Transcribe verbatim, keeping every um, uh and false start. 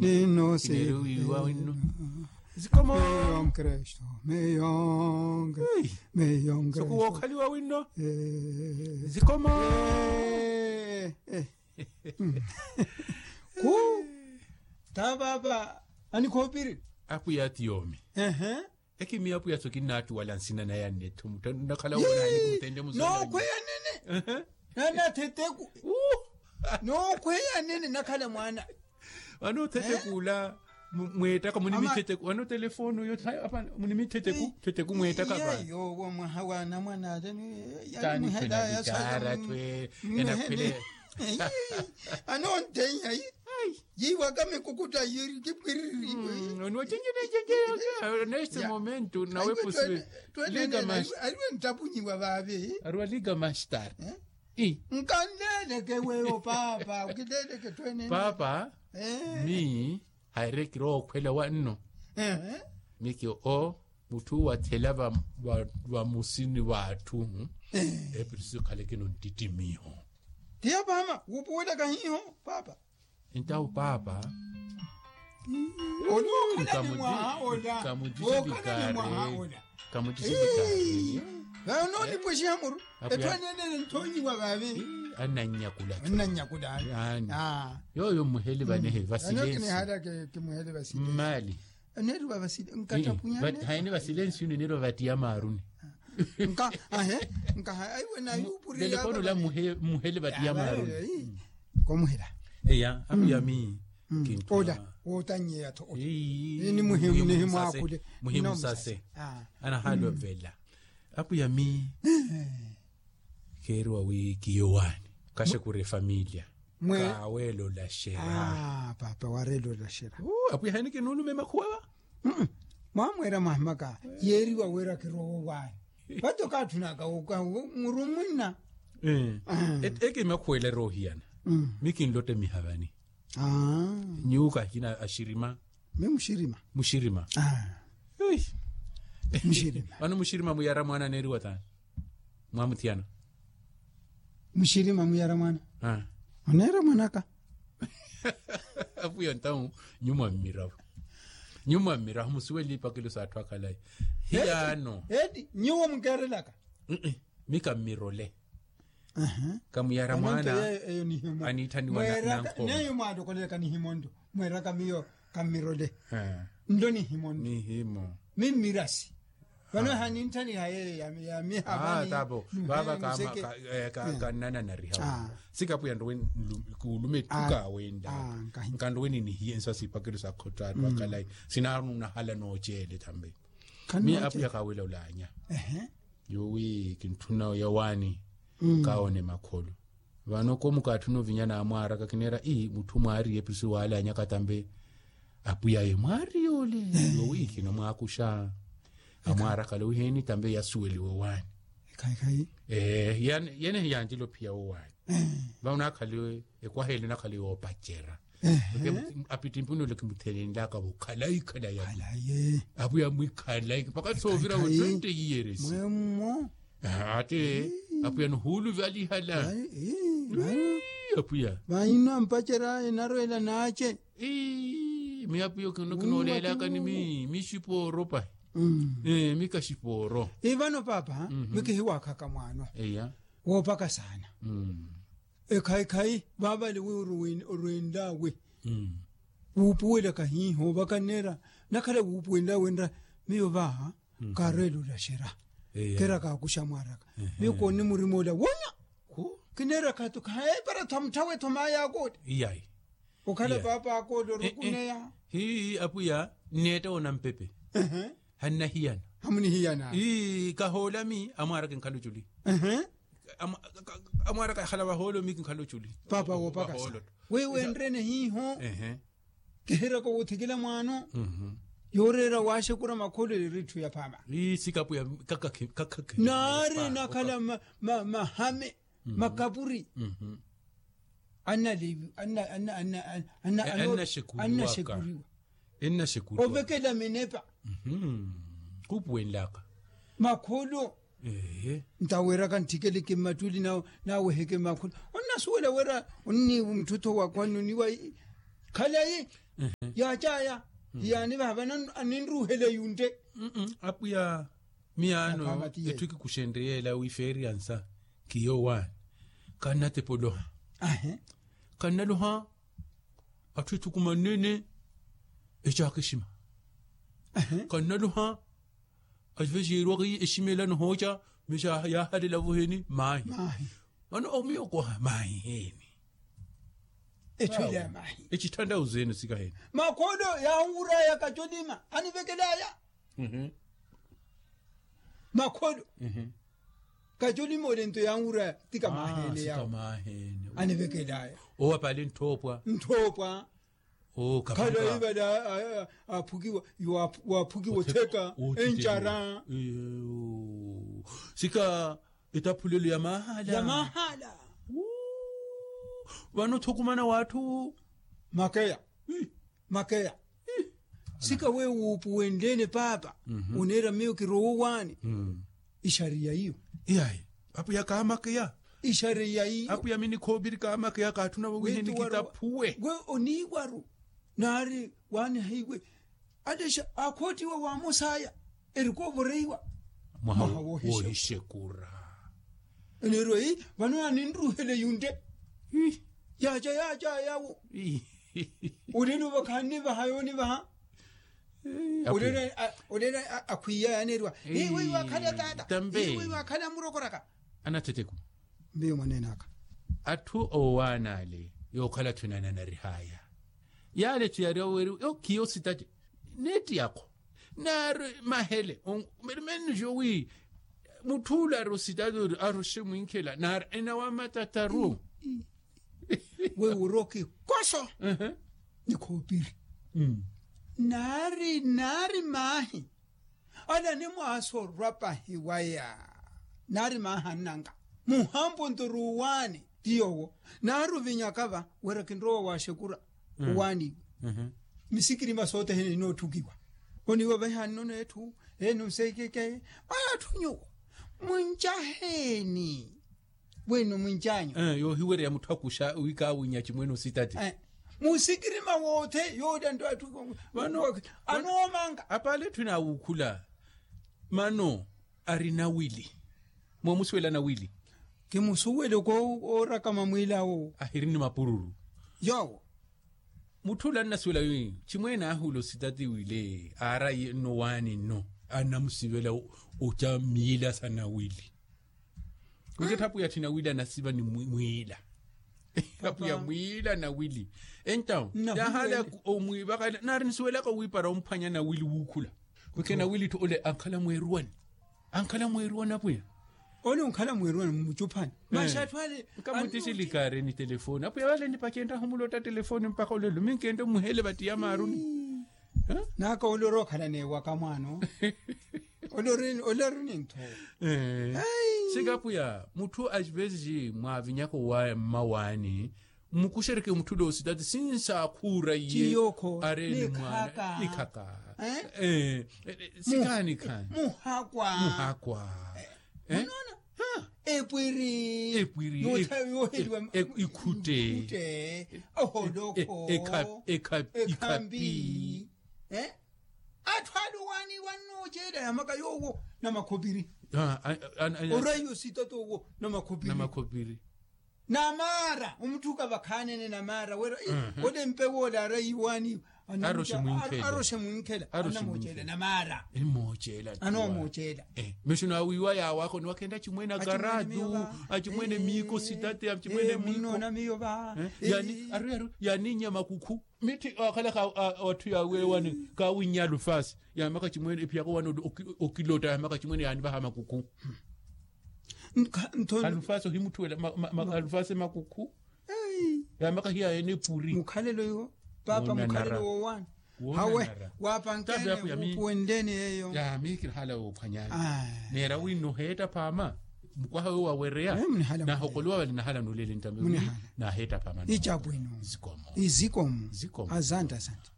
Ninno sineeriwiwa winno. Zikomo. Meyon kristo meyon kristo. Sokuwookhaliwa winno. Zikomo. Ku ta paapa anikhoopiri. Apwiya ti yoomi. Ekimiya apwiya so kinnaattuwala nsina naya nne etthu muttannu nnakhala woona hanikumuttenle musoona. Nookhweya nene. Nana theteku. Nookhweya nene nnakhala mwaana. Vano theteku ula mweettaka munimi theteku vano telefooni uyo. Munimi theteku theteku mweettaka vano. Yowo mwaha wa anamwana ale. Tani khwela vikaara twe enakhwele. Anontenya yi. Yiiwaka mikukutta yiri kipwiriri. Onoocenjelecenjela neste momento nawe pusiwe. Aliwe nttapunyiwa vaave. Arwa liga mastar. Nkanleleke weyo paapa ukinleleke twene. Paapa. Mi hayirekire okhwela wanno. Miki o mutthu wathela vamusini w'atthu. Epirisi khalekeno nttitimiho. Tiya paama wuupuwelaka hiiho paapa. Entawo paapa. Oli wookhalani mwaha ola wookhalani mwaha ola. Kamuttixipikari. Vano nipwexiha muru. Etthu anenele nthoonyiwa vaavi. Annannyakula. Annannyakula. Yooyo mmuheli vanehe vasilensi. Mmali. Nneeriwa vasilensi. Hayini vasilensi yuni nneeriwa vatiya maaruni. Nkaha ahe nkaha aiwe nayupuriya. Telefono la muhele vatiya maaruni. Komuhela. Eya apwiya mi. Ola wootannyeya-tho ola. Ni muhimu sase. Anahaali ovela. Apwiya mi keeriwa wi kiyowaani kaxekure efamiliya. Kaaweela olaxera. Paapa wareela olaxera. Apwiya haini kinuulume makhuwa va. Mwamweera mwahimaka yeeriwa wira kirowa owaani. Vate okaatthunaka muru munna. Eke makhuwa ela eroohiyana. Mi kinlotte mihavani. Nyuwo kahikina axirima. Mi muxirima. Muxirima. Muxirima. Vano muxirima muyara mwaana aneeriwa taani? Mwamuthiyana. Muxirima muyara mwaana. Oneera mwanaka. Apwiya ntawu nyuwo mwammirahu. Nyuwo mwammirahu musuwele ipakelo s'atthu akhalayi. Hiyaano. Eti nyuwo mukeerelaka. Mi kammirole. Kamuyara mwaana. Aniitthaniwa nankhooma. Neyo mwaatokolelaka nihimo nto mweeraka miyo. Kammirole. Nlo nihimo nto. Mimmirasi. Vano ehanintthaniha yeeyo ya miha vani. Tapo vaava. Kannananariha. Sikapwiya nrowe kuulume etthu kaawendaka. Nkanrowe ninihiye nsa sipakelo sa khotto athu akhalayi. Sinaarunahala nooceele tambe. Mi apwiya kaawela olaanya. Yoowi kintthuna oya owaani. Kaawoone makholo. Vano koomukaatthuna ovinya naamwaaraka kineera ii mutthu mwaariye epirisi waalaanyaka tambe. Apwiya ye mwaariye ole. Yoowi khino mwaakuxa. Amwaarakale wiheeni tambe yasuweliwe owaani. Yeene hiyancela ophiya wowaani. Vano naakhaliwe ekwaha ele naakhaliwe oopacera. Apittimpuni ole kimuthelenlaka vo khalayi khalayi. Apwiya mwikhalayi mpakha soovira we twenty years. Ate apwiya nihuuluvalihala. Apwiya vaino ampacera enarweela naace. Mi apwiya kinoolelaka ni mi mi xipooro pahi. Mi kaxipooro. Ivano paapa mi kihiwaakhaka mwaano. Woopaka saana. Ekhayi-khayi vaavale wi orwenlawe wuupuwelaka hiiho vaka nneera. Nakhala wuupuwelaka wenra miyo vaaha kaarweela olaxera. Keera kaakuxa mwaaraka miyo kooni murima ola wonya. Kineera khato khaepara thamutthawetho maaya akoola. Okhala paapa akoola orukuneya. Hii apwiya nneetta wona mpepe. Hannahiyana. Hamunihiyana. Kahoola mi amwaaraka enkhala oculi. Amwaaraka yahala vahoolo mi kinkhala oculi. Paapa woopaka sa wewe enrene hiiho. Kihiraka wuthikila mwaano yooreera waaxekura makholo eri etthu yaphama. Sikapu ya kakakhe kakakhe naari nakhala mahame makapuri. Annalevi anna anna anna anna annaxekuriwa. Ovekela minepa khupuwenlaka makholo. Ntaweraka nttikeleke mmattuli naweheke makholo onnasuwela wira onni mutthutho wakhwanuniwa. Khalayi Yaacaya hiyaanivaha vano aninruuhele yuntte. Apwiya miyaano etthu ekikuxenrye yeela wi feeriyansa kiyo waani kannatepa oloha. Kannaloha atthu ethukumannene ecaaka exima. Kannaloha acivexiirwaka exima ela anihooca. Mixaaha yaahalela voheni maahi. Vano omiyo koha maahi heeni. Etthu ela ya maahi ecithanttha uzeene sikaheeni. Makholo yaawuraya kacolima anivekelaya. Makholo kacolima olento yaawuraya tika maaheene yawo. Anivekelaya owo apaale nthoopwa. Nthoopwa. Khala ivala aphukiwa waaphukiwa otheka encara. Sika etaphulelo ya mahala. Vano thukumana w'atthu makeya. Makeya sika wewo wuupuwenlene paapa oneera miyo kirowa owaani. Ixariya iyo. Iyayi apwiya kaamakeya. Ixariya iyo apwiya minikhoopiri kaamakeya kaatthuna wowiheni kitaphuwe. We oniiwaru naari waaniha iwe alexa aakhootiwa waamosaya erikoovoreiwa mwaha woohixekura. Enerwa vano aninruuhele yuntte. Yaaca yaaca yawo olelo vakhannivaha yoonivaha. Olelo akhwiya yaneeriwa iwe iwaakhala taata iwe iwaakhala murokoraka. Anathetheku mbiyo mwaneenaka atthu owaana ale yookhala atthu enananarihaya. Yaale etthu yaari aweeri yo khiyo sitatte neetti yakho naari mahele mmennuxo wi mutthu ula ari ositatte ori aroxe mwinkhela naari enawa matataru. Wewo oroki koso nikhoopiri naari naari maahi. Ala animwaasa orwa pahi waya naari maahi annanka muhampo nto ruuwaani ti yoowo. Naari ovinyaka va wira kinrowa waaxekura owaani. Misikirima sothene ninoothukiwa oniiwa vahiha nnono etthu ene osekeke. Atthu nyuwo muncaheeni wino mwincanyu yoohiwereya mutthu akuxa wi kaawinya acimwene ositati. Musikirima woothe yoolya nto atthu vano anoomanga apaale etthu inaawukhula. Mano ari nawili mwamusuwela nawili. Kimusuwele koorakama mwiilawo ahiri ni mapururu. Yoowo mutthu ula annasuwela wi chimwene aahula ositati wile aarayi nno waani nno annamusivela oca miila sa nawili. Kuti etthapu ya tthina wili anasiva ni mwiila. Etthapu ya mwiila nawili entawo yaahala omwiivaka naari nisuwelaka wiipara omphwanya nawili wuukhula. Kuti nawili-tho ole ankhala mweeruwani ankhala mweeruwani apwiya. Ole onkhala mweeruwani mmucuphani. Maxi atthu ale nkamuttixilikaari ni telefoni apwiya vale nipacenttahu mulotta telefoni mpakha olelo minkento muhele vattiya maaruni. Naka ole orookhala neewaka mwaano. Ole ori nintho. Sikapwiya mutthu acipezici mwaavinyaka owaaya mmawaani mmukuxereke mutthu ole ositati sinsaakhuura iye. Areene mwaana nikhaka. Sikhaani khaani muhakwa muhakwa. Epwiri epwiri yooheliwa ikhutte oholokho ekhambi. Atthu ale owaani wannoocela yamaka yoowo namakhopiri. Oraiyo sitata owo namakhopiri. Namakhopiri namaara omutthuka vakhaanene namaara wira ole mpewo ole aarayi waani. Aroxe mwinkhela aroxe mwinkhela anamooceela namaara. Anoomoocela anoomoocela. Mexo naawiiwa yaawaakho ni wakhenda acimwene akaratu acimwene miiko sitate acimwene miiko. Munnoona miyo va. Yaani aru yaru yaaninya makukhu mitthi waakhalaka watthu yaaweewani kaawinnya alufasi yaamaka acimwene ephiyaka owaani okilotta yaamaka acimwene yaanivaha makukhu. Alufasi ohimutthuwela alufasi makukhu. Yaamaka hiyaayene epuri mukhalelo iwo paapa mukhalelo woowaani. Hawe waapankene wuupuwenleni yeeyo. Yaami kinahala woophwanyani neera wi nnoheetta phaama mukwaha weyo wawereya. Nahokoliwa vale nahala nuulele ntambe wi naaheetta phaama. Icapwino. Izikomo. Izikomo. Asante asante.